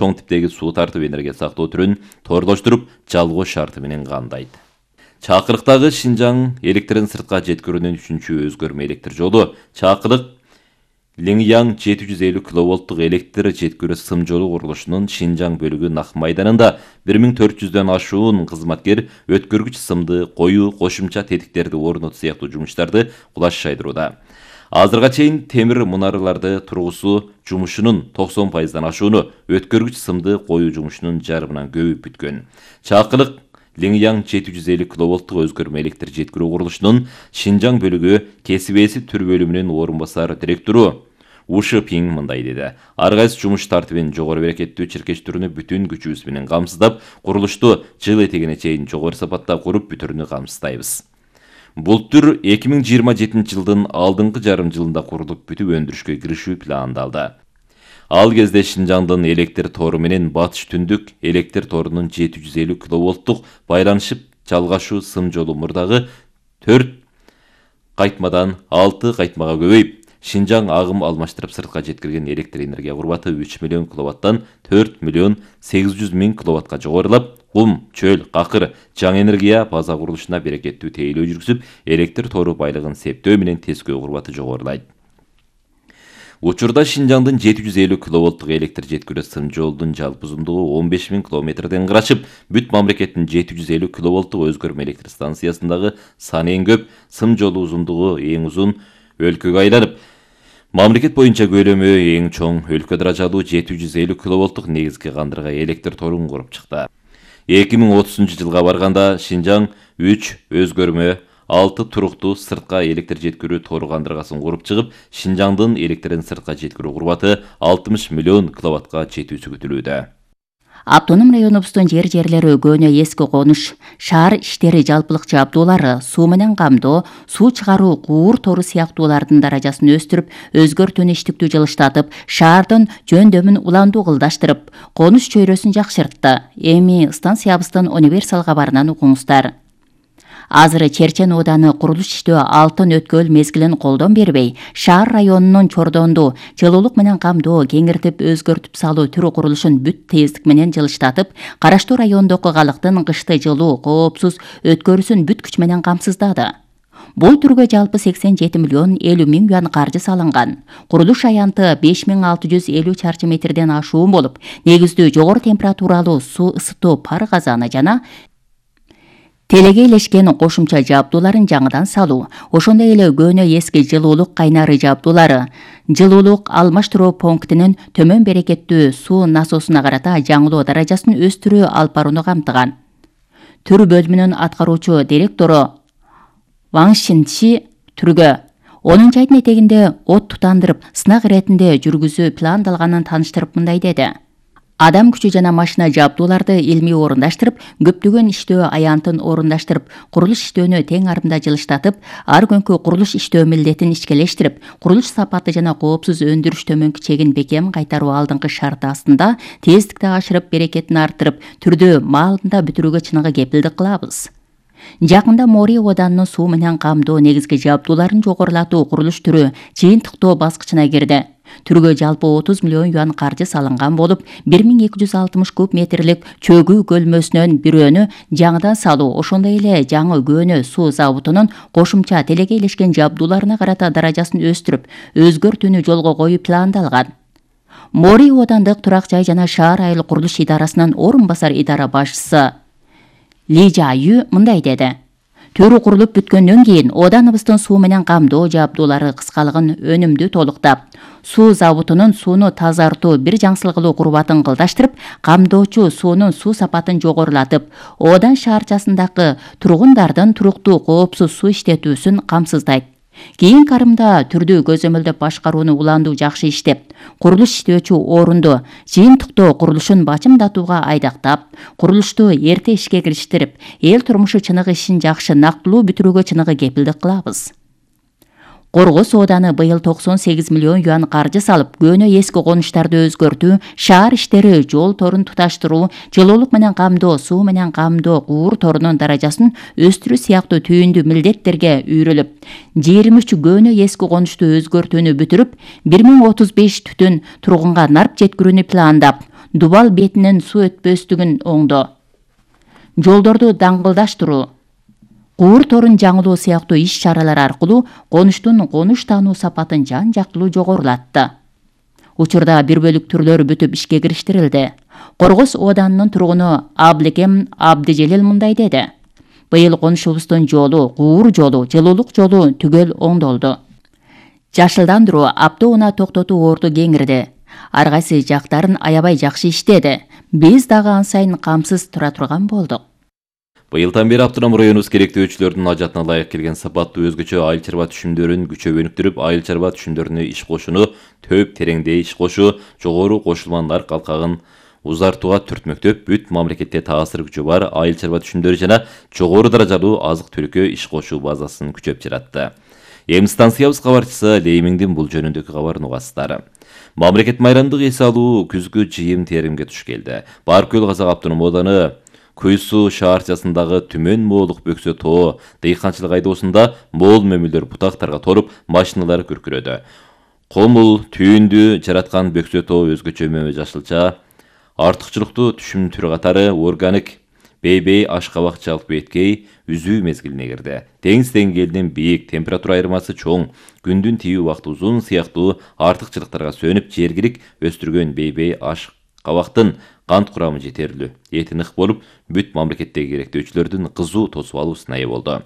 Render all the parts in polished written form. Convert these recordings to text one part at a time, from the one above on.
чоң типтеги суу тартып энергия сактоо түрүн торлоштуруп жалгоо шарты менен камдайт. Чакырыктагы Шинжаң электрин сыртка жеткирүүнүн 3-чү өзгөрмө электр жолу Чакырык Лиңяң 750 киловолттук электр жеткирүү сым жолу курулушунун Шинжаң бөлүгү Нак майданында 1400дөн ашуун кызматкер өткөргүч сымды коюу, кошумча тетиктерди орнотуу сыяктуу жумуштарды кулаш шайдырууда. Азырга чейин темир мунараларды тургузуу жумушунун 90%дан ашууну өткөргүч сымды коюу жумушунун жарымынан көбү бүткөн. Чакырык Лиңяң 750 киловолттук өзгөрмө электр жеткирүү курулушунун Шинжаң бөлүгү кесип ээси түр бөлүмүнүн орун басар директору Ушы Пиң мындай деди. Ар кайсы жумуш тартибин жогору берекеттүү чиркештирүүнү бүтүн күчүбүз менен камсыздап, курулушту жыл этегине чейин жогору сапатта куруп бүтүрүүнү камсыздайбыз. Бул түр 2027 жылдын алдыңкы жарым жылында курулуп бүтүп өндүрүшкө киришүү пландалды. Ал кезде Шинжаңдын электр тору менен батыш түндүк электр торунун 750 киловолттук байланышып жалгашуу сым жолу мурдагы 4 кайтмадан 6 кайтмага көбөйүп, Шинжаң агым алмаштырып сыртка жеткирген электр энергия курбаты 3 миллион киловаттан 4 миллион 800 миң киловатка жогорулап, кум, чөл, какыр, жаңы энергия база курулушуна берекеттүү тейлөө жүргүзүп, электр тору байлыгын септөө менен тескөө курбаты жогорулайт. Учурда Шинжаңдын 750 киловолттук электр жеткирүү сым жолдун жалпы узундугу 15 миң километрден карашып, бүт мамлекеттин 750 киловолттук өзгөрмө электр станциясындагы саны эң көп, сым жолу узундугу эң узун өлкөгө айланып, мамлекет боюнча көлөмү эң чоң өлкө даражалуу 750 киловолттук негизги кандырга электр торун куруп чыкты. 2030 жылга барганда Шинжаң 3 өзгөрмө 6 туруктуу сыртка электр жеткирүү тору кандыргасын куруп чыгып, Шинжаңдын электрин сыртка жеткирүү курбаты 60 миллион киловаттка жетүүсү күтүлүүдө. Автоном районубуздун жерлери көөнө эски конуш, шаар иштери жалпылыкчы абдуулары, суу менен камдоо, суу чыгаруу, куур тору сыяктуулардын даражасын өстүрүп, өзгөртүүнү иштиктүү жылыштатып, шаардын жөндөмүн уландуу кылдаштырып, конуш чөйрөсүн жакшыртты. Эми станциябыздын универсал кабарынан угуңуздар. Азыр Черчен ооданы курулуш иштөө алтын өткөл мезгилин колдон бербей, шаар районунун чордонду жылуулук менен камдоо, кеңиртип өзгөртүп салуу түрү курулушун бүт тездик менен жылыштатып, караштуу райондогу калктын кышты жылуу, коопсуз өткөрүүсүн бүт күч менен камсыздады. Бул түргө жалпы 87 миллион 50 миң юан каржы салынган. Курулуш аянты 5650 чарчы метрден ашуун болуп, негиздүү жогору температуралуу суу ысытуу пар казаны жана телеге илешкен кошумча жабдууларын жаңыдан салуу, ошондой эле көөнө эски жылуулук кайнары жабдуулары, жылуулук алмаштыруу пунктинин төмөн берекеттүү суу насосуна карата жаңылоо даражасын өстүрүү алып барууну камтыган. Түр бөлүмүнүн аткаруучу директору Ваң Шинчи түргө 10 айдын этегинде от тутандырып, сынак иретинде жүргүзүү пландалганын таныштырып мындай деди. Адам күчү жана машина жабдууларды илмий орундаштырып, көптөгөн иштөө аянтын орундаштырып, курулуш иштөөнү тең арымда жылыштатып, ар күнкү курулуш иштөө милдетин ишкелештирип, курулуш сапаты жана коопсуз өндүрүш төмөнкү чегин бекем кайтаруу алдыңкы шарты астында тездикти ашырып, берекетин арттырып, түрдү маалында бүтүрүүгө чыныгы кепилдик кылабыз. Жакында Мори оданынын суу менен камдоо негизги жабдууларын жогорулатуу курулуш түрү жыйынтыктоо баскычына кирди. Түргө жалпы 30 миллион юан каржы салынган болуп, 1260 куб метрлик чөгүү көлмөсүнөн бирөөнү жаңыдан салуу, ошондой эле жаңы көөнө суу заводунун кошумча телеге илешкен жабдууларына карата даражасын өстүрүп, өзгөртүүнү жолго коюу пландалган. Мори оодандык турак жай жана шаар айыл курулуш идарасынын орун басар идара башчысы Ли Жаю мындай деди. Төрү курулуп бүткөндөн кийин ооданыбыздын суу менен камдоо жабдуулары кыскалыгын өнүмдүү толуктап, суу заводунун сууну тазартуу бир жаңсылыгылуу курбатын кылдаштырып, камдоочу суунун суу сапатын жогорулатып, оодан шаарчасындагы тургундардын туруктуу коопсуз суу иштетүүсүн камсыздайт. Кийин карымда түрдүү көзөмөлдөп башкарууну уландуу жакшы иштеп, курулуш иштөөчү орунду жыйынтыктоо курулушун бачымдатууга айдактап, курулушту эрте ишке кириштирип, эл турмушу чыныгы ишин жакшы нактылуу бүтүрүүгө чыныгы кепилдик кылабыз. Коргоз ооданы быйыл 98 миллион юан каржы салып, көөнө эски конуштарды өзгөртүү, шаар иштери, жол торун туташтыруу, жылуулук менен камдоо, суу менен камдоо, куур торунун даражасын өстүрүү сыяктуу түйүндүү милдеттерге үйрүлүп, 23 көөнө эски конушту өзгөртүүнү бүтүрүп, 1035 түтүн тургунга нарп жеткирүүнү пландап, Дубал бетинен суу өтпөстүгүн оңдоо, жолдорду даңгылдаштыруу, куур торун жаңылоо сыяктуу иш-чаралар аркылуу конуштун конуш таануу сапатын жан-жактылуу жогорулатты. Учурда 1 бөлүк түрлөр бүтүп ишке кириштирилди. Коргос ооданынын тургуну Аблекем Абдижелил мындай деди. Быйыл конушубуздун жолу, куур жолу, жылуулук жолу түгөл оңдолду. Жашылдандыруу, автоунаа токтотуу орду кеңирди. Ар кайсы жактарын аябай жакшы иштеди. Биз дагы ан сайын камсыз тура турган болдук. Быйылдан бери автоном районубуз керектөөчүлөрдүн ажатына ылайык келген сапаттуу өзгөчө айыл чарба түшүмдөрүн күчөп өнүктүрүп, айыл чарба түшүмдөрүнө иш кошууну, төп тереңдей иш кошуу, жогору кошулма нарк алкагын узартууга түртмөктөп, бүт мамлекетте таасир күчү бар айыл чарба түшүмдөрү жана жогору даражалуу азык-түлүккө иш кошуу базасын күчөп жаратты. Эми станциябыз кабарчысы Леймиңдин бул жөнүндөгү кабарын угасыздар. Мамлекет майрамдык эс алуу күзгү жыйым теримге туш келди. Баркөл Казак автоном ооданы Куйсу шаарчасындагы Түмөн Моолук Бөксө тоо дыйканчылык айдоосунда моол мөмүлдөр бутактарга толуп, машиналар күркүрөдү. Комул түйүндү жараткан Бөксө тоо өзгөчө мөмө жашылча артыкчылыктуу түшүм түрү катары органик бейбей ашкабак жалпы беткей үзүү мезгилине кирди. Деңиз деңгээлинин бийик, температура айырмасы чоң, күндүн тийүү убакыты узун сыяктуу артыкчылыктарга сөнүп, жергилик өстүргөн бейбей ашкабактын кант курамы жетерлүү, эти нык болуп, бүт мамлекеттеги керектөөчүлөрдүн кызуу тосуп алуусуна ээ болду.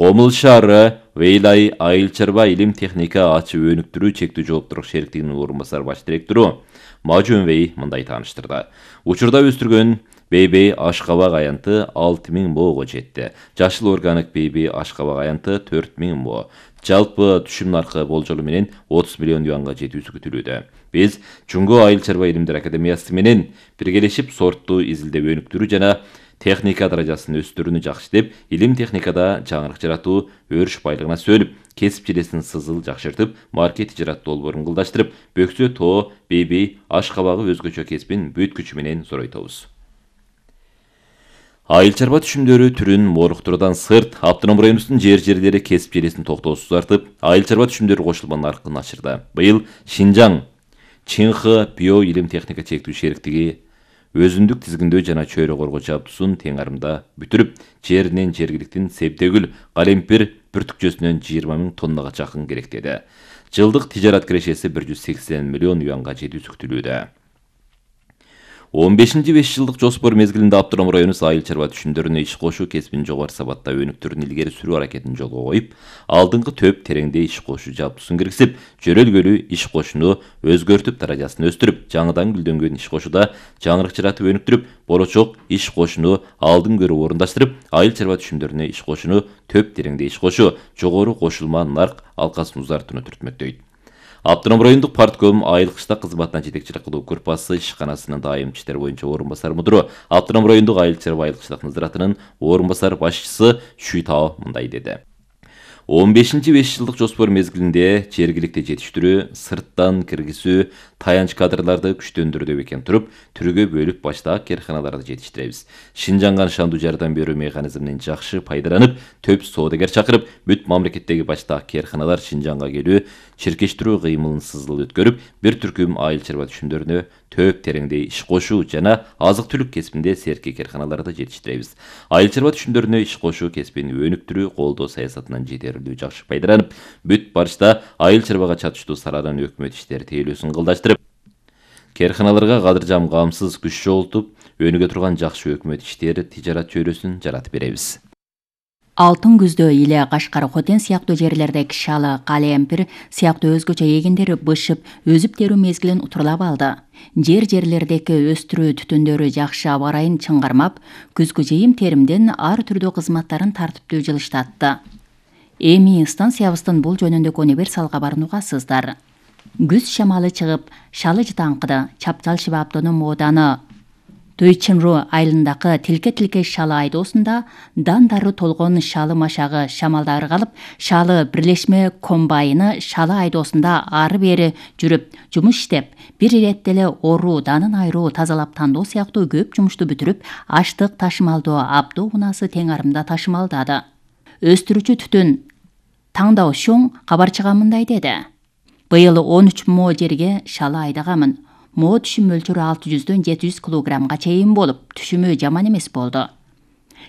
Комул шаары Вейлай айыл чарба илим техника ачып өнүктүрүү чектүү жооптуулук шериктигинин орун басар баш директору Мажөнбей мындай тааныштырды. Учурда өстүргөн бейбей ашкабак аянты 6000 моого жетти. Жашыл органик бейбей ашкабак аянты 4000 мо. Жалпы түшүм наркы болжолу менен 30 миллион юанга жетүүсү күтүлүүдө. Биз Жуңго айыл чарба илимдер академиясы менен биргелешип сортту изилдеп өнүктүрүү жана техника даражасын өстүрүүнү жакшыртып, илим техникада жаңырык жаратуу, өрүш байлыгына сөнүп, кесип желесин сызыл жакшыртып, маркет тижарат долбоорун ылдаштырып, Бөксө тоо бейбей ашкабагы өзгөчө кесибин бүт күчү менен зоройтобуз. Айыл чарба түшүмдөрү түрүн моруктуруудан сырт, автоном районубуздун жерлери кесип желесин токтоосуз артып, айыл чарба түшүмдөрү кошулма наркын ачырды. Быйыл Шинжаң Чинхы био илим техника чектүү шериктиги өзүндүк тизгиндөө жана чөйрө коргоо жабдуусун тең арымда бүтүрүп, жеринен жергиликтин себдегүл, калемпир бүртүкчөсүнөн 20 000 тоннага жакын керектеди. Жылдык тижарат кирешеси 180 миллион юанга жетүүсү күтүлүүдө. 15-5 жылдык жоспор мезгилинде автоном районубуз айыл чарба түшүмдөрүнө иш кошуу кесибин жогору сабатта өнүктүрүүнү илгери сүрүү аракетин жолго коюп, алдыңкы төп тереңдей иш кошуу жабдуусун киргизип, жөрөлгөлүү иш кошууну өзгөртүп, даражасын өстүрүп, жаңыдан гүлдөнгөн иш кошууда жаңырык жаратып өнүктүрүп, болочок иш кошууну алдын көрүп орундаштырып, айыл чарба түшүмдөрүнө иш кошууну төп тереңдей иш кошуу, жогору кошулма нарк алкасын узартууну түртмөктөйт. Автоном райондук партком айыл кыштак кызматына жетекчилик кылуу группасы ишканасынын дайым иштер боюнча орун басар мудуру, автоном райондук айыл чарба айыл кыштак назаратынын орун басар башчысы Шүйтао мындай деди. 15-5 жылдык жоспор мезгилинде жергиликти жетиштирүү, сырттан киргизүү, таянч кадрларды күчтөндүрүүдө бекем туруп, түргө бөлүп баштаак керканаларды жетиштиребиз. Шинжаңга нышандуу жардам берүү механизминен жакшы пайдаланып, төп соодагер чакырып, бүт мамлекеттеги баштаак керканалар Шинжаңга келүү, чиркештирүү кыймылын сызыл өткөрүп, бир түркүм айыл чарба түшүмдөрүнө төп тереңдей иш кошуу жана азык-түлүк кесибинде серки керканаларды жетиштиребиз. Айыл чарба түшүмдөрүнө иш кошуу кесибин өнүктүрүү колдоо саясатынан жетерлүү жакшы пайдаланып, бүт барышта айыл чарбага чатыштуу саланын өкмөт иштери тейлөөсүн кылдаштырып, керканаларга кадыржам камсыз күч жоготуп, өнүгө турган жакшы өкмөт иштери тижарат чөйрөсүн жаратып беребиз. Алтын күздө Иле, Кашкар, Хотен сыяктуу жерлердеги шалы, калемпир сыяктуу өзгөчө эгиндер бышып, өзүп терүү мезгилин утурлап алды. Жерлердеги өстүрүү түтүндөрү жакшы аба ырайын чыңгармап, күзгү жыйым теримден ар түрдүү кызматтарын тартиптүү жылыштатты. Эми станциябыздын бул жөнүндөгү универсал кабарын угасыздар. Күз шамалы чыгып, шалы жытаңкыды. Чапчалшыба автоном ооданы Туйчинру айылындагы тилке шалы айдоосунда дандары толгон шалы машагы шамалда ыргалып, шалы бирлешме комбайны шалы айдоосунда ары-бери жүрүп, жумуш иштеп, бир иретте эле оруу, данын айыруу, тазалап тандоо сыяктуу көп жумушту бүтүрүп, аштык ташымалдоо автоунаасы тең арымда ташымалдады. Өстүрүүчү түтүн Таңдоо Шоң кабарчыга мындай деди. Быйыл 13 мо жерге шалы айдаганмын. moo түшүм мөлчөрү 600дөн 700 килограммга чейин болуп, түшүмү жаман эмес болду.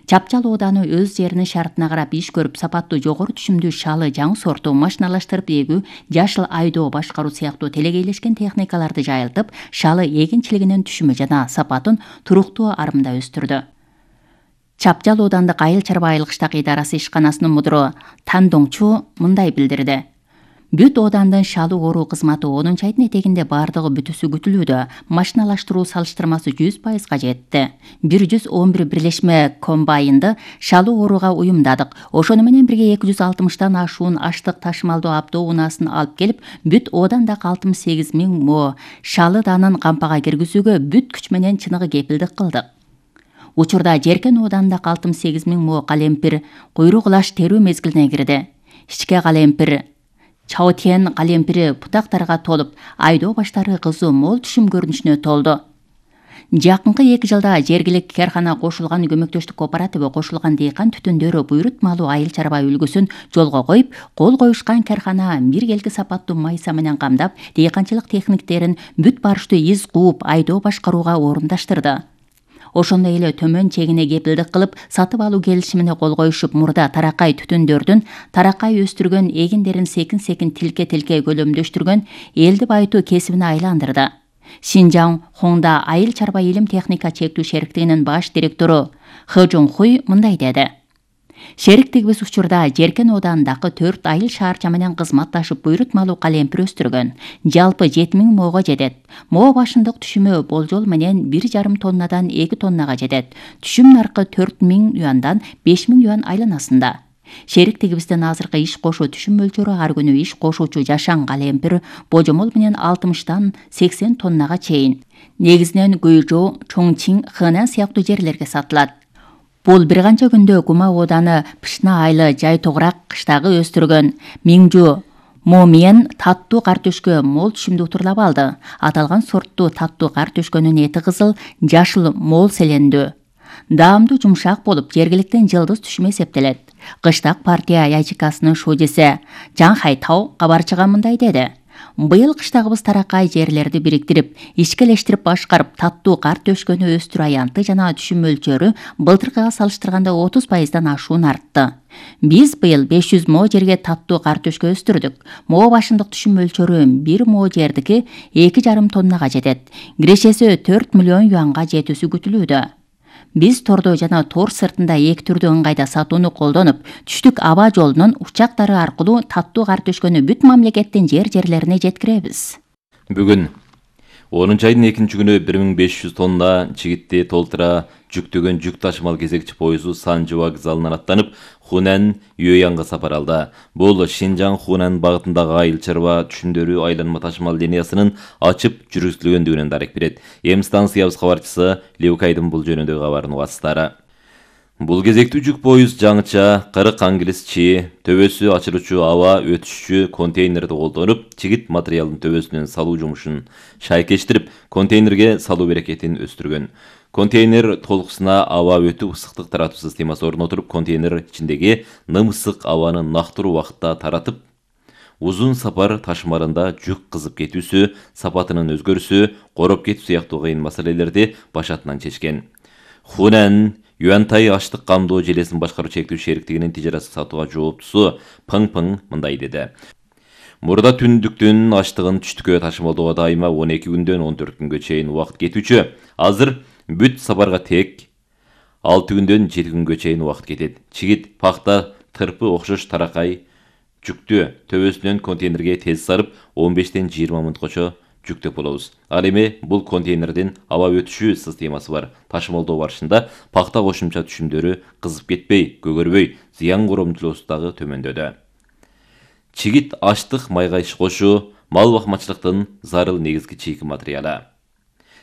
Чапчал ооданы өз жеринин шартына карап иш көрүп, сапаттуу жогору түшүмдүү шалы жаңы сорту машиналаштырып эгүү, жашыл айдоо башкаруу сыяктуу телегейлешкен техникаларды жайылтып, шалы эгинчилигинин түшүмү жана сапатын туруктуу арымда өстүрдү. Чапчал оодандык айыл чарба айылгычтак идарасы ишканасынын мудуру Тандоңчу мындай билдирди. Бүт оодандын шалы ооруу кызматы 10 айдын этегинде бардыгы бүтүсү күтүлүүдө. Машиналаштыруу салыштырмасы 100%га жетти. 111 бирлешме комбайнды шалы ооруга уюмдадык. Ошону менен бирге 260тан ашуун аштык ташымалдоо автоунаасын алып келип, бүт оодандагы 68 000 мо шалы данын кампага киргизүүгө бүт күч менен чыныгы кепилдик кылдык. Учурда Жеркен оодандагы 68 000 мо калемпир куйрук лаш терүү мезгилине кирди. Ичке калемпир Чаотен калемпири бутактарга толуп, айдоо баштары кызуу мол түшүм көрүнүшүнө толду. Жакынкы 2 жылда жергиликтүү каркана кошулган көмөктөштүк кооперативи кошулган дыйкан түтүндөрү буйрутмалуу айыл чарба үлгүсүн жолго коюп, кол коюшкан каркана биргелки сапаттуу майса менен камдап, дыйканчылык техниктерин бүт барыштуу из кууп айдоо башкарууга орундаштырды. Ошондой эле төмөн чегине кепилдик кылып, сатып алуу келишимине кол коюшуп, мурда таракай түтүндөрдүн таракай өстүргөн эгиндерин секин-секин тилке-тилке көлөмдөштүргөн элди байытуу кесибине айландырды. Шинжаң Хоңда айыл чарба илим техника чектүү шериктигинин баш директору Хэ Жонхуй мындай деди. Шериктигибиз учурда Жеркен оодандагы 4 айыл шаарча менен кызматташып буйрутмалуу калемпир өстүргөн. Жалпы 7000 моого жетет. Мо башындык түшүмү болжол менен 1,5 тоннадан 2 тоннага жетет. Түшүм наркы 4000 юандан 5000 юан айланасында. Шериктигибиздин азыркы иш кошуу түшүм мөлчөрү ар күнү иш кошуучу жашаң калемпир божомол менен 60тан 80 тоннага чейин. Негизинен Гуйжоу, Чоңчин, Хэнан сыяктуу жерлерге сатылат. Бул бир канча күндө Гума ооданы Пышна айылы жай тогурак кыштагы өстүргөн Миңжу Момиен таттуу картөшкө мол түшүмдү утурлап алды. Аталган сорттуу таттуу картөшкөнүн эти кызыл, жашыл мол селендүү. Даамдуу жумшак болуп, жергиликтен жылдыз түшүм эсептелет. Кыштак партия ячейкасынын шуудиси Жан Хайтау кабарчыга мындай деди. Быйыл кыштагыбыз таракай жерлерди бириктирип, ишкелештирип башкарып, таттуу картөшкөнү өстүрүү аянты жана түшүм мөлчөрү былтыркыга салыштырганда 30%дан ашуун артты. Биз быйыл 500 мо жерге таттуу картөшкө өстүрдүк. Мо башындык түшүм мөлчөрү 1 мо жердики 2,5 тоннага жетет. Кирешеси 4 миллион юанга жетүүсү күтүлүүдө. Биз тордо жана тор сыртында эки түрдүү ыңгайда сатууну колдонуп, түштүк аба жолунун учактары аркылуу таттуу картөшкөнү бүт мамлекеттин жерлерине жеткиребиз. Бүгүн 10 айдын 2-күнү 1500 тонна чигитти толтура жүктөгөн жүк ташымал кезекчи поезу Санжы вокзалынан аттанып, Хунан Юэянга сапар алды. Бул Шинжаң Хунан багытындагы айыл чарба түшүмдөрү айланма ташымал линиясынын ачып жүргүзүлгөндүгүнөн дарек берет. Эми станциябыз кабарчысы Леукайдын бул жөнүндөгү кабарынын убастары. Бул кезектүү жүк поезд жаңыча 40 англис чи, төбөсү ачылуучу аба өтүшчү контейнерди колдонуп, чигит материалдын төбөсүнөн салуу жумушун шайкештирип, контейнерге салуу берекетин өстүргөн. Контейнер толкусуна аба өтүү ысыктык таратуу системасы орнотулуп, контейнер ичиндеги ным ысык абаны нактыруу убакытта таратып, узун сапар ташымалында жүк кызып кетүүсү, сапатынын өзгөрүүсү, короп кетүү сыяктуу кыйын маселелерди башатынан чечкен. Хунан Юантай аштык камдоо желесин башкаруу чектүү шериктигинин тижараттык сатууга жооптусу Пың мындай деди. Мурда түндүктүн аштыгын түштүккө ташымалдоого дайыма 12 күндөн 14 күнгө чейин убакыт кетүүчү. Азыр бүт сапарга тек 6 күндөн 7 күнгө чейин убакыт кетет. Чигит, пахта, тырпы окшош таракай жүктү төбөсүнөн контейнерге тез сарып 15-тен 20 мүнөткөчө жүктөп болобуз. Ал эми бул контейнердин аба өтүшүү системасы бар. Ташымалдоо барышында пахта кошумча түшүмдөрү кызып кетпей, көгөрбөй, зыян коромчулугу дагы төмөндөдү. Чигит аштык майга иш кошуу, мал бакмачылыктын зарыл негизги чийки материалы.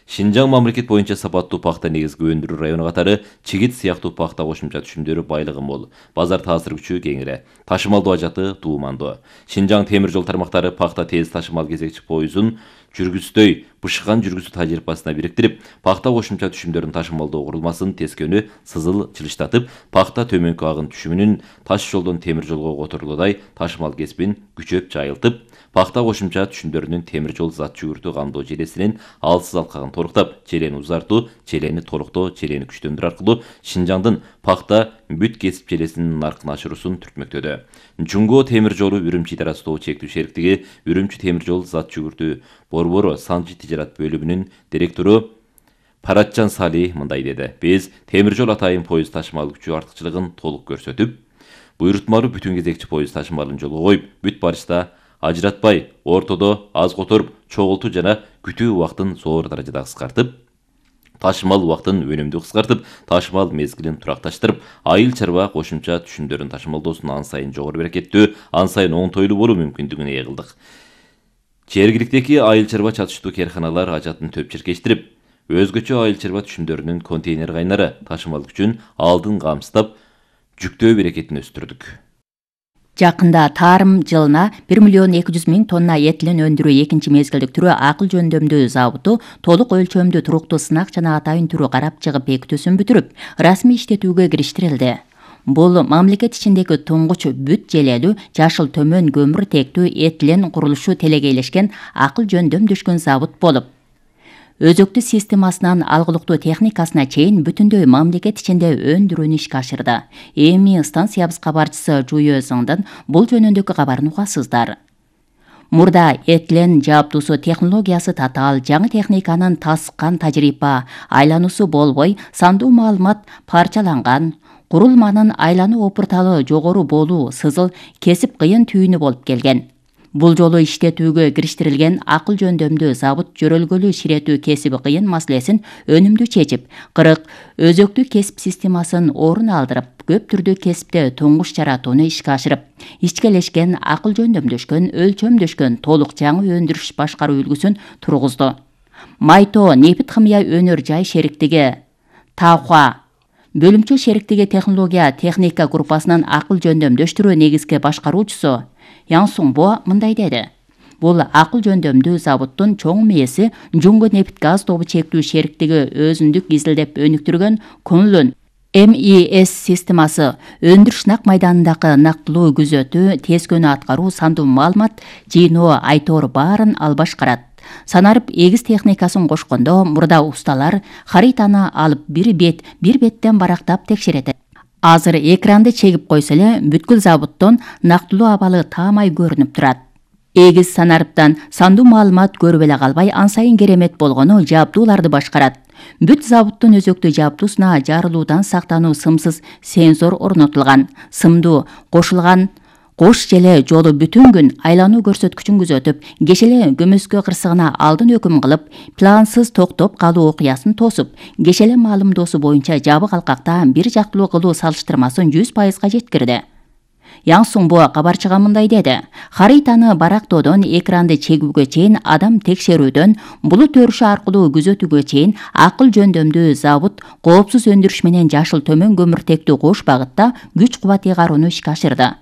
Шинжаң мамлекет боюнча сапаттуу пахта негизги өндүрүү району катары чигит сыяктуу пахта кошумча түшүмдөрү байлыгы мол. Базар таасир күчү кеңири. Ташымалдоо ажаты туумандуу. Шинжаң темир жол тармактары пахта тез ташымал кезекчи поезун жүргүздөй бышкан жүргүзүү тажрыйбасына бириктирип, пахта кошумча түшүмдөрүн ташымалдоо курулмасын тескөөнү сызыл чылыштатып, пахта төмөнкү агын түшүмүнүн таш жолдон темир жолго которулуудай ташымал кесибин күчөп жайылтып, пахта кошумча түшүмдөрүнүн темир жол зат жүгүртүү камдоо желесинин алсыз алкагын торуктап, желени узартуу, желени толуктоо, желени күчтөндүрүү аркылуу Шинжаңдын пахта бүт кесип желесинин наркын ашыруусун түртмөктөдө. Жунго темир жолу Үрүмчү ара Астоо чектүү шериктиги Үрүмчү темир жол зат жүгүртүү борбору санжи тижарат бөлүмүнүн директору Паратжан Сали мындай деди: Биз темир жол атайын поезд ташымал күчү артыкчылыгын толук көрсөтүп, буйрутмалуу бүтүн кезекчи поезд ташымалын жолго коюп, бүт барышта ажыратпай, ортодо аз которуп, чогултуу жана күтүү убактын зор даражада кыскартып, ташымал убактын өнүмдүү кыскартып, ташымал мезгилин туракташтырып, айыл чарба кошумча түшүмдөрүн ташымалдоосун ан сайын жогору берекеттүү, ан сайын оңтойлуу болуу мүмкүндүгүнө ээ кылдык. Жергиликтеги айыл чарба чатыштуу керканалар ажатын төп чиркештирип, өзгөчө айыл чарба түшүмдөрүнүн контейнер кайнары ташымал күчүн алдын камсыздап, жүктөө берекетин өстүрдүк. Жакында тарым жылына 1.200.000 тонна этилен өндүрүү экинчи мезгилдик түрү акыл жөндөмдүү заводу толук өлчөмдүү туруктуу сынак жана атайын түрү карап чыгып бекитүүсүн бүтүрүп, расмий иштетүүгө кириштирилди. Бул мамлекет ичиндеги туңгуч бүт желелүү жашыл төмөн көмүр тектүү этилен курулушу телегейлешкен акыл жөндөмдөшкөн завод болуп, өзөктүү системасынан алгылыктуу техникасына чейин бүтүндөй мамлекет ичинде өндүрүүнү ишке ашырды. Эми станциябыз кабарчысы Жуйө Зыңдын бул жөнүндөгү кабарын угасыздар. Мурда этилен жабдуусу технологиясы татаал, жаңы техниканын таскан тажрыйба айлануусу болбой, сандуу маалымат парчаланган, курулманын айлануу опурталы жогору болуу, сызыл кесип кыйын түйүнү болуп келген. Бул жолу иштетүүгө кириштирилген акыл жөндөмдүү завод жөрөлгөлүү ширетүү кесиби кыйын маселесин өнүмдүү чечип, 40 өзөктүү кесип системасын орун алдырып, көп түрдүү кесипте туңгуч жаратууну ишке ашырып, ичкелешкен, акыл жөндөмдөшкөн, өлчөмдөшкөн толук жаңы өндүрүш башкаруу үлгүсүн тургузду. Майто нефит химия өнөр жай шериктиги Тавха бөлүмчө шериктиги технология техника группасынын акыл жөндөмдөштүрүү негизги башкаруучусу Ян Суңбо мындай деди: Бул акыл жөндөмдүү заводдун чоң мээси Жунго нефт газ тобу чектүү шериктиги өзүндүк изилдеп өнүктүргөн Kunlun MES системасы өндүрүш нак майданындагы нактылуу күзөтүү, тез күнү аткаруу, сандуу маалымат жыйноо, айтор баарын ал башкарат. Санарып эгиз техникасын кошкондо мурда усталар хаританы алып бир беттен барактап текшерет. Азыр экранды чегип койсо эле бүткүл заводдон нактылуу абалы таамай көрүнүп турат. Эгиз санарыптан сандуу маалымат көрүп эле калбай, ан сайын керемет болгону жабдууларды башкарат. Бүт заводдун өзөктүү жабдуусуна жарылуудан сактануу сымсыз сенсор орнотулган. Сымдуу кошулган кош желе жолу бүтүн күн айлануу көрсөткүчүн күзөтүп, кешеле көмөскө кырсыгына алдын өкүм кылып, плансыз токтоп калуу окуясын тосуп, кешеле маалымдоосу боюнча жабык алкакта бир жактылуу кылуу салыштырмасын 100% жеткирди. Ян Суңбо кабарчыга мындай деди: Хаританы барактоодон экранды чегүүгө чейин, адам текшерүүдөн булут өрүшү аркылуу күзөтүүгө чейин акыл жөндөмдүү завод коопсуз өндүрүш менен жашыл төмөн көмүртектүү кош багытта күч кубат ыйгарууну ишке ашырды.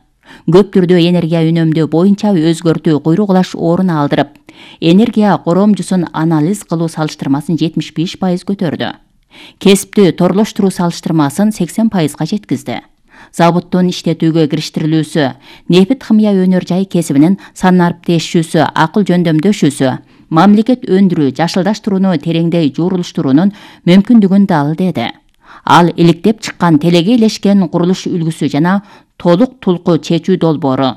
Көп түрдүү энергия үнөмдөө боюнча өзгөртүү куйругулаш орун алдырып, энергия коромжусун анализ кылуу салыштырмасын 75% көтөрдү. Кесипти торлоштуруу салыштырмасын 80%га жеткизди. Заводдун иштетүүгө кириштирилүүсү, нефит химия өнөр жай кесибинин санариптешүүсү, акыл жөндөмдөшүүсү, мамлекет өндүрүү, жашылдаштырууну тереңдей жуурулуштуруунун мүмкүндүгүн дал деди. Ал иликтеп чыккан телегейлешкен курулуш үлгүсү жана толук тулку чечүү долбоору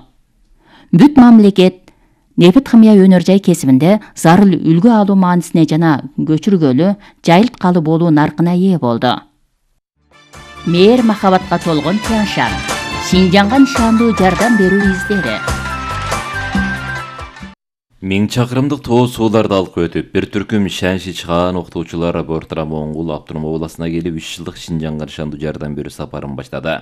бүт мамлекет нефит химия өнөр жай кесибинде зарыл үлгү алуу маанисине жана көчүргөлүү, жайылткалы болуу наркына ээ болду. Мээр махабатка толгон Тяншан, Шинжаңга нишандуу жардам берүү издери. 1000 чакырымдык тоо сууларды алып өтүп, бир түркүм Шанши чыгаан окутуучулар Бортара Моңгул автоном областына келип 3 жылдык Шинжаңга нишандуу жардам берүү сапарын баштады.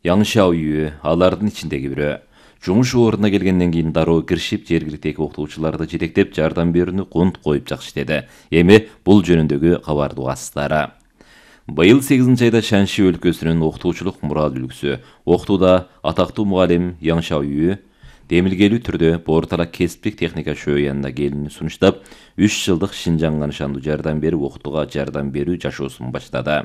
Яң Шаоюй алардын ичиндеги бирөө. Жумуш ордуна келгенден кийин дароо киришип, жергиликтеги окутуучуларды жетектеп, жардам берүүнү кунт коюп жакшы деди. Эми бул жөнүндөгү кабарды угасыздар. Быйыл 8 айда Шанши өлкөсүнүн окутуучулук мурал үлгүсү, окутууда атактуу мугалим Яң Шаоюй демилгелүү түрдө Бортара кесиптик техника шөөнүнө келүүнү сунуштап, 3 жылдык Шинжаңга нишандуу жардам берип, окутууга жардам берүү жашоосун баштады.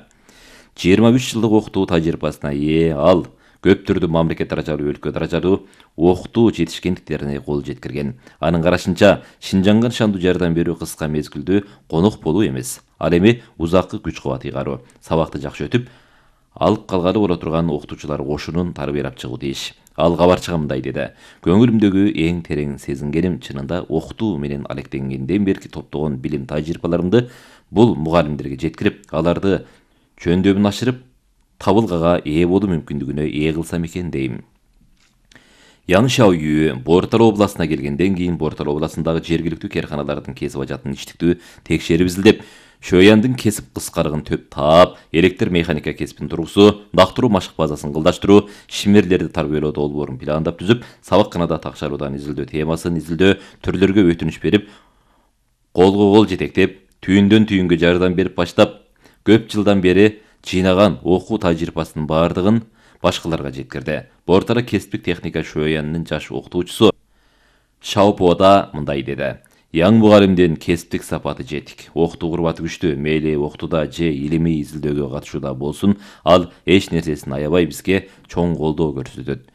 23 жылдык окутуу тажрыйбасына ээ ал көп түрдүү мамлекет даражалуу, өлкө даражалуу окутуу жетишкендиктерине кол жеткирген. Анын карашынча, Шинжаңга нышандуу жардам берүү кыска мезгилдүү конок болуу эмес, ал эми узаккы күч кубат ыйгаруу. Сабакты жакшы өтүп, алып калгалы боло турган окутуучулар кошунун тарбиялап чыгуу тийиш. Ал кабарчыга мындай деди: көңүлүмдөгү эң терең сезингеним чынында окутуу менен алектенгенден берки топтогон билим тажрыйбаларымды бул мугалимдерге жеткирип, аларды жөндөмүн ашырып, табылгага ээ болуу мүмкүндүгүнө ээ кылсам экен дейм. Ян Шаоюй Бор Тала областына келгенден кийин Бор Тала областындагы жергиликтүү кээрканалардын кесип ажатын иштиктүү текшерип изилдеп, Шөйяндын кесип кыскарыгын төп таап, электр механика кесипин тургузуу, дактыруу машык базасын кылдаштыруу, шимерлерди тарбиялоодо долбоорун пландап түзүп, сабакканада такшаруудан изилдөө темасын изилдөө, түрлөргө өтүнүч берип, колго кол жетектеп, түйүндөн түйүнгө жардам берип баштап, көп жылдан бери жыйнаган окуу тажрыйбасынын баардыгын башкаларга жеткирди. Бор Тала кесиптик техника Шөйянынын жаш окутуучусу Шаопода мындай деди: яң мугалимдин кесиптик сапаты жетик, окутуу курбаты күчтүү, мейли окутууда же илимий изилдөөгө катышууда болсун, ал эч нерсесин аябай бизге чоң колдоо көрсөтөт.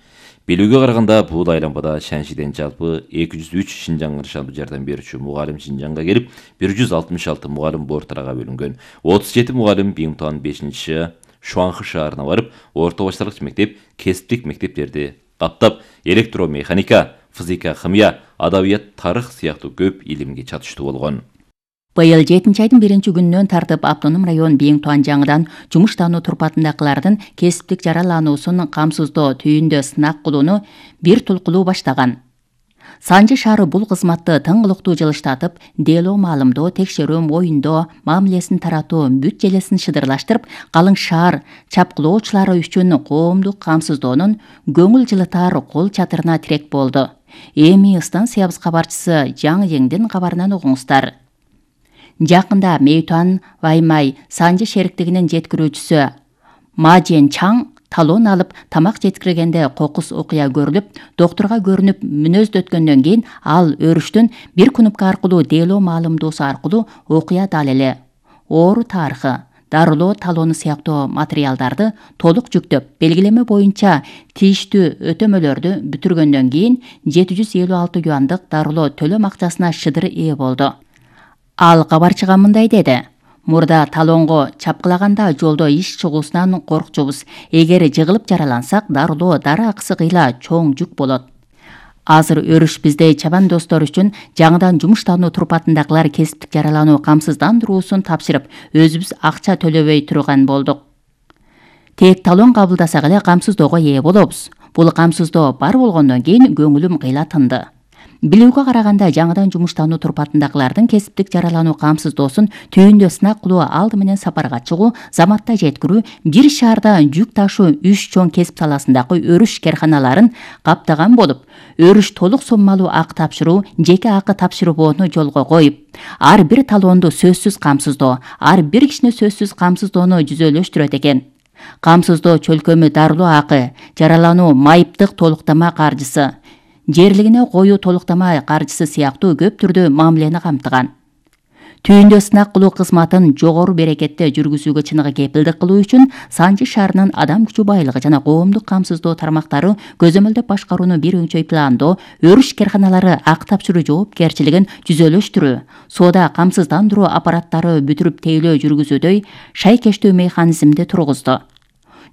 Билүүгө караганда, бул айланбада Шаншиден жалпы 203 Шинжаңга нышандуу жардам берүүчү мугалим Шинжаңга келип, 166 мугалим Бор Талага бөлүнгөн. 37 мугалим Биңтуан 5 Шуанхы шаарына барып, орто башталгыч мектеп, кесиптик мектептерди каптап, электромеханика, физика, химия, адабият, тарых сыяктуу көп илимге чатыштуу болгон. Быйыл 7 айдын 1 күнүнөн тартып автоном район Биңтуан жаңыдан жумуштануу турпатындагылардын кесиптик жаралануусун камсыздоо түйүндө сынак кылууну бир тулкулуу баштаган. Санжы шаары бул кызматты тыңгылыктуу жылыштатып, делоо маалымдоо, текшерүү, моюндоо, мамилесин таратуу, бүт желесин шыдырлаштырып, калың шаар чапкылоочулары үчүн коомдук камсыздоонун көңүл жылытар кол чатырына тирек болду. Эми станциябыз кабарчысы Жаң Еңдин кабарынан угуңуздар. Жакында Мейтуан Ваймай Санжы шериктигинин жеткирүүчүсү Ма Жен Чаң талон алып, тамак жеткиргенде кокус окуя көрүлүп, доктурга көрүнүп мүнөздөткөндөн кийин ал өрүштүн бир кнопка аркылуу делоо маалымдоосу аркылуу окуя далили, оору тарыхы, дарылоо талону сыяктуу материалдарды толук жүктөп, белгилеме боюнча тийиштүү өтөмөлөрдү бүтүргөндөн кийин 756 юандык дарылоо төлөм акчасына шыдыр ээ болду. Ал кабарчыга мындай деди: мурда талонго чапкылаганда жолдо иш чыгуусунан коркчубуз. Эгер жыгылып жаралансак, дарылоо дары акысы кыйла чоң жүк болот. Азыр өрүш биздей чабан достор үчүн жаңыдан жумуштануу турпатындагылар кесиптик жаралануу камсыздандыруусун тапшырып, өзүбүз акча төлөбөй турган болдук. Тек талон кабылдасак эле камсыздоого ээ болобуз. Бул камсыздоо бар болгондон кийин көңүлүм кыйла тынды. Билүүгө караганда, жаңыдан жумуштануу турпатындагылардын кесиптик жаралануу камсыздоосун түйүндө сынак кылуу, алды менен сапарга чыгуу, заматта жеткирүү, бир шаарда жүк ташуу 3 чоң кесип саласындагы өрүш керканаларын каптаган болуп, өрүш толук соммалуу акы тапшыруу, жеке акы тапшырбоону жолго коюп, ар бир талоонду сөзсүз камсыздоо, ар бир кишини сөзсүз камсыздоону жүзөлөштүрөт экен. Камсыздоо чөлкөмү дарылоо акы, жаралануу майыптык толуктама каржысы, жерлигине коюу толуктама каржысы сыяктуу көп түрдүү мамилени камтыган. Түйүндө сынак кылуу кызматын жогору берекетте жүргүзүүгө чыныгы кепилдик кылуу үчүн Санжы шаарынын адам күчү байлыгы жана коомдук камсыздоо тармактары көзөмөлдөп башкарууну бир өңчөй пландоо, өрүш керканалары акы тапшыруу жоопкерчилигин жүзөлөштүрүү, соода камсыздандыруу аппараттары бүтүрүп тейлөө жүргүзүүдөй шайкештүү механизмди тургузду.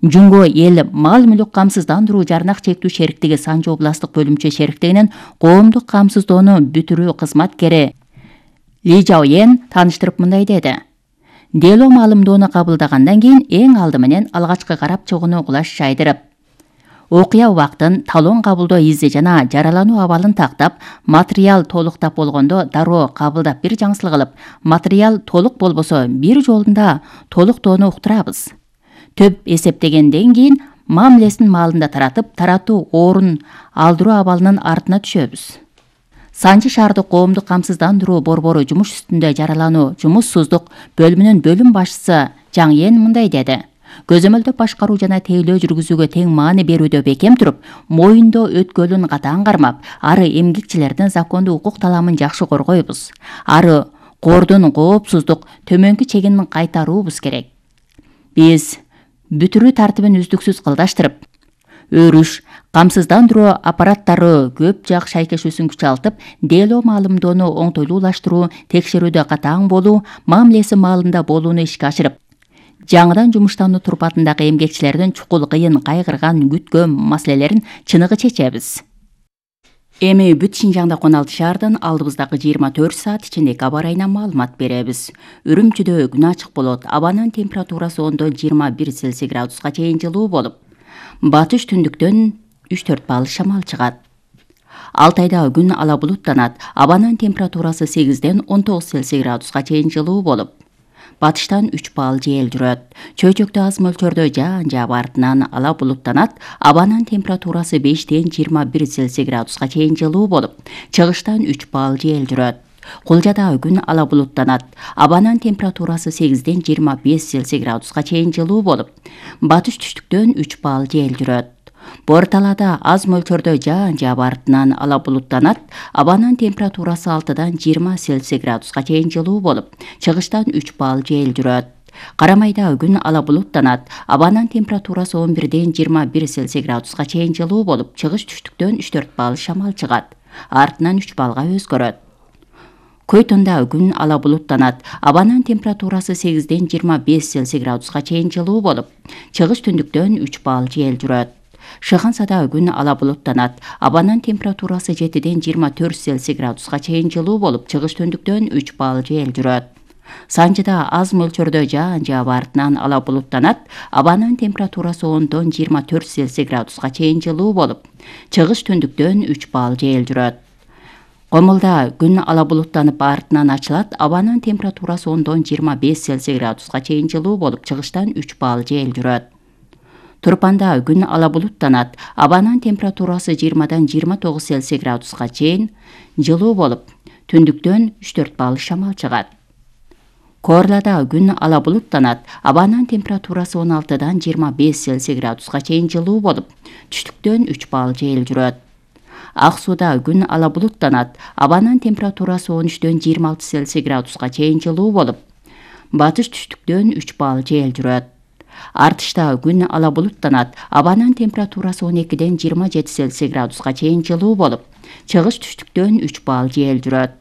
Жунго эл мал мүлүк камсыздандыруу жарнак чектүү шериктиги Санжы областтык бөлүмчө шериктигинин коомдук камсыздоону бүтүрүү кызматкери Ли Жаоен тааныштырып мындай деди: делоо маалымдоону кабылдагандан кийин эң алды менен алгачкы карап чыгууну кулаш жайдырып, окуя убактын, талон кабылдоо изи жана жаралануу абалын тактап, материал толуктап болгондо дароо кабылдап бир жаңсыл кылып, материал толук болбосо бир жолунда толуктоону уктурабыз. Төп эсептегенден кийин мамилесин маалында таратып, таратуу орун алдыруу абалынын артына түшөбүз. Санжы шаардык коомдук камсыздандыруу борбору жумуш үстүндө жаралануу жумуссуздук бөлүмүнүн бөлүм башчысы Жаң Ен мындай деди: көзөмөлдөп башкаруу жана тейлөө жүргүзүүгө тең маани берүүдө бекем туруп, моюндоо өткөлүн катаң кармап, ары эмгекчилердин закондуу укук таламын жакшы коргойбуз. Ары кордун коопсуздук төмөнкү чегин кайтаруубуз керек. Биз бүтүрүү тартибин үздүксүз кылдаштырып, Өрүш, камсыздандыруу аппараттары көп жак шайкешүүсүн күчалтып, дело маалымдоону оңтойлуулаштыруу, текшерүүдө катаң болуу, мамилеси маалында болууну ишке ашырып, жаңыдан жумуштануу турпатындагы эмгекчилердин чукул кыйын кайгырган күткөн маселелерин чыныгы чечебиз. Эми бүт Шинжаңда 16 шаардан алдыбыздагы 24 саат ичиндеги аба ырайынан маалымат беребиз. Үрүмчүдө күн ачык болот. Абанын температурасы 10-21 Цельсий градуска чейин жылуу болуп, батыш түндүктөн 3-4 балл шамал чыгат. Алтайда күн ала булуттанат. Абанын температурасы 8-19 Цельсий градуска чейин жылуу болуп, батыштан 3 балл жел жүрөт. Чөйчөктө аз мөлчөрдө жаан жаап артынан ала булуттанат. Абанын температурасы 5-21 Цельсий градуска чейин жылуу болуп, чыгыштан 3 балл жел жүрөт. Кулжада күн ала булуттанат. Абанын температурасы 8-25 Цельсий градуска чейин жылуу болуп, батыш түштүктөн 3 балл жел жүрөт. Борталада аз мөлчөрдө жаан жаап артынан ала булуттанат. Абанын температурасы 6-20 Цельсий градуска чейин жылуу болуп, чыгыштан 3 балл жел жүрөт. Карамайда күн ала булуттанат. Абанын температурасы 11-21 Цельсий градуска чейин жылуу болуп, чыгыш түштүктөн 3-4 балл шамал чыгат. Артынан 3 баллга өзгөрөт. Көйтөндө күн ала булуттанат. Абанын температурасы 8-25 Цельсий градуска чейин жылуу болуп, чыгыш түндүктөн 3 балл жел жүрөт. Шыгансада күн ала булуттанат. Абанын температурасы 7-24 Цельсий градуска чейин жылуу болуп, чыгыш түндүктөн 3 балл жел жүрөт. Санжыда аз мөлчөрдө жаан жаап артынан ала булуттанат. Абанын температурасы 10-24 Цельсий градуска чейин жылуу болуп, чыгыш түндүктөн 3 балл жел жүрөт. Комулда күн ала булуттанып артынан ачылат. Абанын температурасы 10-25 Цельсий градуска чейин жылуу болуп, чыгыштан 3 балл жел жүрөт. Турпанда күн ала булуттанат. Абанын температурасы 20-29 Цельсий градуска чейин жылуу болуп, түндүктөн 3-4 балл шамал чыгат. Корлада күн ала булуттанат. Абанын температурасы 16-25 Цельсий градуска чейин жылуу болуп, түштүктөн 3 балл жел жүрөт. Ак сууда күн ала булуттанат. Абанын температурасы 13-26 Цельсий градуска чейин жылуу болуп, батыш түштүктөн 3 балл жел жүрөт. Артышта күн ала булуттанат. Абанын температурасы 12-27 Цельсий градуска чейин жылуу болуп, чыгыш түштүктөн 3 балл жел жүрөт.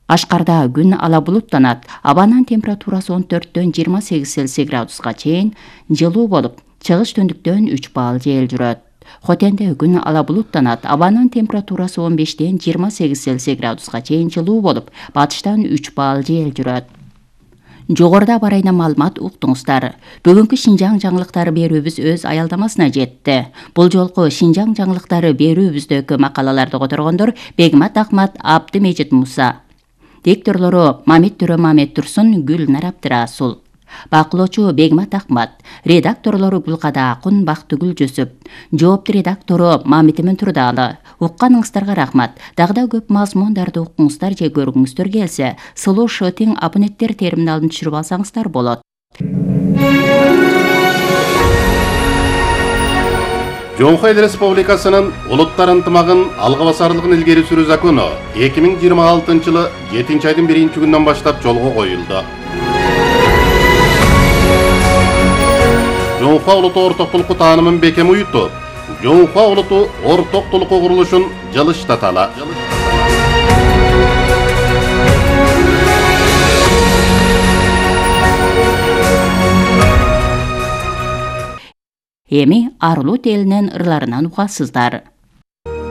Кашкарда күн ала булуттанат. Абанын температурасы 14-28 Цельсий градуска чейин жылуу болуп, чыгыш түндүктөн 3 балл жел жүрөт. Хотенде күн ала булуттанат. Абанын температурасы 15-28 Цельсий градуска чейин жылуу болуп, батыштан 3 балл жел жүрөт. Жогоруда аба ырайынан маалымат уктуңуздар. Бүгүнкү Шинжаң жаңылыктары берүүбүз өз аялдамасына жетти. Бул жолку Шинжаң жаңылыктары берүүбүздөгү макалаларды которгондор Бегмат Ахмат, Абдымежит Муса. Дикторлору Мамит Төрө Мамет Турсун, Гүлнар Абдырасул. Бакылоочу Бегмат Ахмат. Редакторлору Гүлкада Акун, Бактыгүл Жөсөп. Жоопту редактору Мамитимин Турдалы. Укканыңыздарга рахмат. Дагы да көп мазмундарды укуңуздар же көргүңүздөр келсе, Сулуу Шотинг абоненттер терминалын түшүрүп алсаңыздар болот. Жоңхо Эл Республикасынын улуттар ынтымагын алга басарлыгын илгери сүрүү закону 2026-жылы 7-айдын 1-күнүнөн баштап жолго коюлду. Жоңхо улуту ортоктулукту таанымын бекем уютуп, Жоңхо улуту ортоктулукку курулушун жылыштаталы. Эми Арлут элинин ырларынан угасыздар.